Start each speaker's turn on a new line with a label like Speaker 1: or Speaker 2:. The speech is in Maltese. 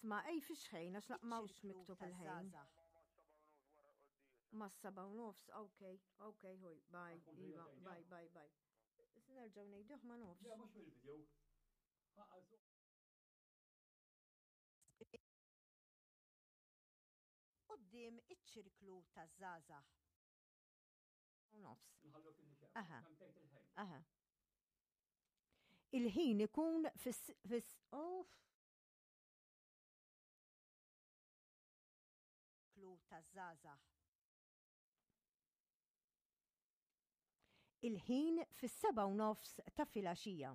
Speaker 1: Isma, ej fix ħin, għax laqmawx
Speaker 2: Iċ-ċirklu
Speaker 1: miktub il-ħin.
Speaker 2: taż-żgħażagħ.
Speaker 1: Mas-7:30, ok, ħuj, bye, iva, bye, bye, bye. Issa nerġgħu ngħiduh ma nofs.
Speaker 3: Le, mhux mill-video.
Speaker 2: Quddiem iċ-ċirklu taż-żgħażagħ.
Speaker 1: U nofs.
Speaker 3: Nħallu kien
Speaker 1: Aha.
Speaker 3: Kemm tgħid il-ħin.
Speaker 1: Aha. Il-ħin ikun fis fis oh,
Speaker 2: Klu taż-żgħażagħ.
Speaker 1: Il-ħin fis-7:30 ta' filgħaxija.